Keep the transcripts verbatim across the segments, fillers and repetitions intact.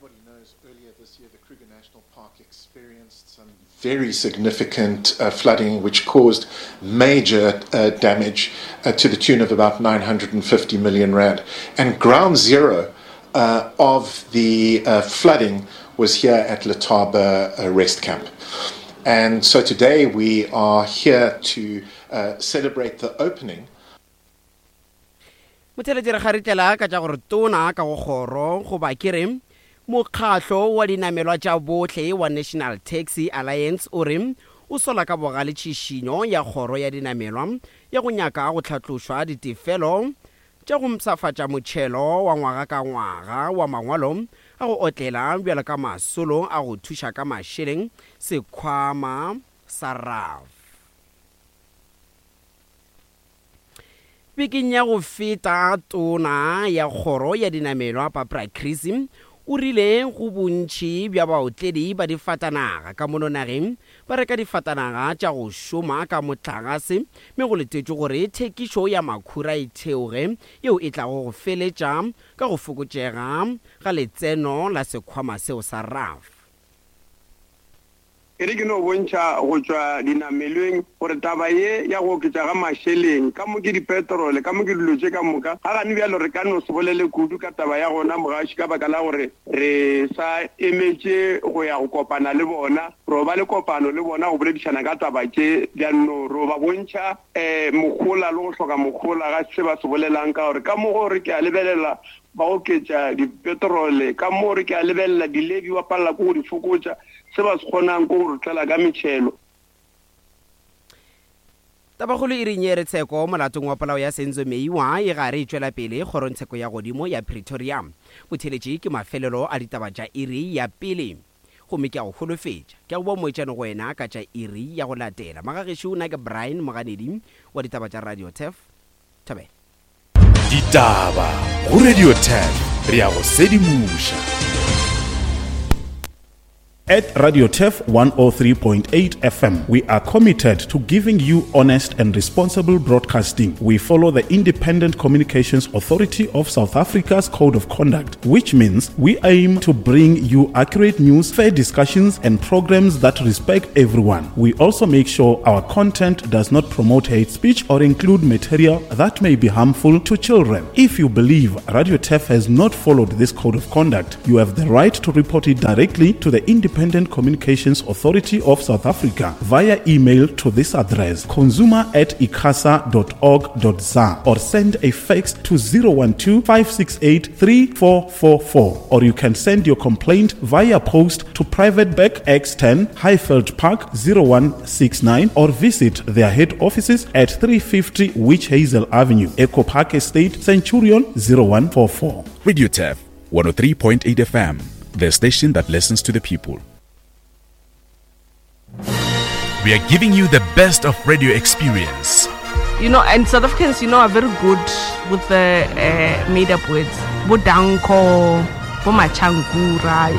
everybody knows, earlier this year the Kruger National Park experienced some very significant uh, flooding, which caused major uh, damage uh, to the tune of about nine hundred and fifty million rand. And ground zero, uh, of the, uh, flooding was here at Letaba, uh, Rest Camp. And so today we are here to, uh, celebrate the opening. Motheletši re kgaritlela ka tša gore tona ka go kgoro goba ke re mokgahlo wa dinamelwa tša bohle wa National Taxi Alliance o re o sola ka bogale tšhišinyo ya kgoro ya dinamelwa ya go nyaka go hlatlošwa ditefelo tša go mpshafatša motšhelo wa ngwaga ka ngwaga wa mangwalo a go otlela bjalo ka masolo a go thuša ka mašeleng sekhwama sa R A F. Bekeng ya go feta tona ya kgoro ya dinamelwa Barbara Creecy o rile go bontši bja baotledi ba difatanaga ka mono nageng ba reka difatanaga tša go šoma ka motlagase mme go letetšwe gore thekišo ya makhura e theoge yeo e tlago go feletša ka go fokotšega ga letseno la sekhwama seo sa R A F. E re ke no bontšha go tšwa dinamelweng gore taba ye ya go oketša ga mašeleng ka mo ke dipetrole ka mo ke dilo tše ka moka ga gane bjalo re ka no se bolele kudu ka taba ya gona mogaši ka baka la gore re sa emetše go ya go kopana le bona ro ba le kopano le bona go boledišana ka taba tše bjanno ro ba bontšha um mogola le go hloka mogola ga se ba se bolelang ka gore ka mo gore ke a lebelela ba oketša dipetrole ka mo re ke a lebelela dilebi wa palela ko go di fokotša se ba se kgonang ko go re tlela ka metšhelo. Tabakgolo e reng ye re tsheko molatong wa polao ya Senzo Meyiwa e gare e tšwela pele kgorongtsheko ya godimo ya Pretoria. Botheletši ke mafelelo a ditaba tša iri ya pele. Gomme ke a go holofetša. Ke a go boa moetšane go wena ka tša iri ya go latela. Magagešo nna ke Brian Moganedi wa ditaba tša Radio Turf. Thobela. Ditaba go Radio Turf re ya go sedimoša. At Radio Turf one oh three point eight F M, we are committed to giving you honest and responsible broadcasting. We follow the Independent Communications Authority of South Africa's Code of Conduct, which means we aim to bring you accurate news, fair discussions, and programs that respect everyone. We also make sure our content does not promote hate speech or include material that may be harmful to children. If you believe Radio Turf has not followed this Code of Conduct, you have the right to report it directly to the Independent Independent Communications Authority of South Africa via email to this address consumer at icasa dot org dot za or send a fax to zero one two, five six eight, three four four four, or you can send your complaint via post to Private Bag X ten Highveld Park zero one six nine or visit their head offices at three fifty Witch Hazel Avenue, Echo Park Estate, Centurion zero one four four. Radio Turf one oh three point eight F M, the station that listens to the people. We are giving you the best of radio experience. You know, and South Africans, you know, are very good with the, uh, made-up words. Bodanko, Bomachankura.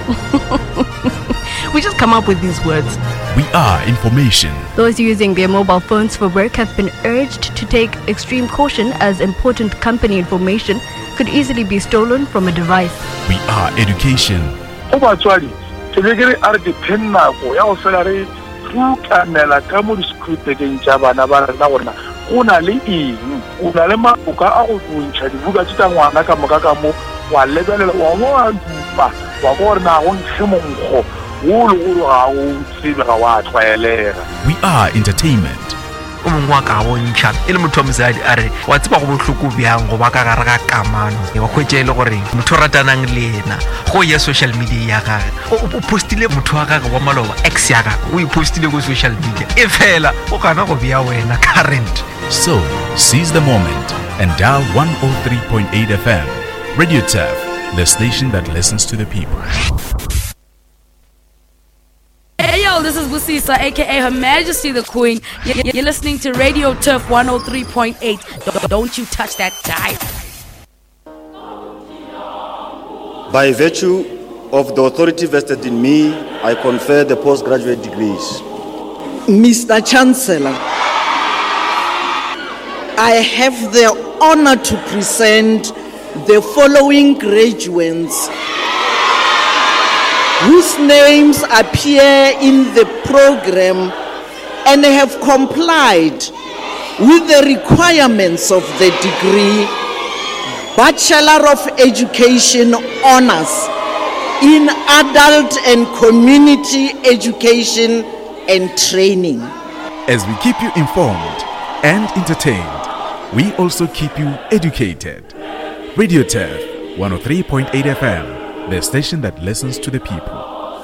We just come up with these words. We are information. Those using their mobile phones for work have been urged to take extreme caution as important company information could easily be stolen from a device. We are education. Go batswadi, ke be ke re a re ke phe nako ya go fela re rutamela ka mo di-scripteng tša bana ba rena gore na go na le eng, o na le maboka a go ntšha dibuka tše tša ngwana ka moka ka mo, wa lebelela, wa bo wa dupa, wa kwa gore na go nkge monkgo wo le gore ga o tsebe, ga wa tlwaelega. We are entertainment. O mongwe wa ka bontšha e le motho wa mosadi a re wa tseba go bohloko bjang go ba ka gare ga kamano, wa hwetša e le gore motho o ratanang le yena go ya social media ya gage o, o postile motho wa gage wa maloba, ex ya gage o e postile ko social media, e fela o gana go bea wena current. So seize the moment and dial one oh three point eight F M. Radio Turf, the station that listens to the people. Hey yo, this is Busisa, aka Her Majesty the Queen. You're listening to Radio Turf one oh three point eight. Don't you touch that dial. By virtue of the authority vested in me, I confer the postgraduate degrees. Mister Chancellor, I have the honor to present the following graduates. whose names appear in the program and have complied with the requirements of the degree Bachelor of Education Honors in Adult and Community Education and Training. As we keep you informed and entertained, we also keep you educated. Radio Turf one oh three point eight F M, the station that listens to the people.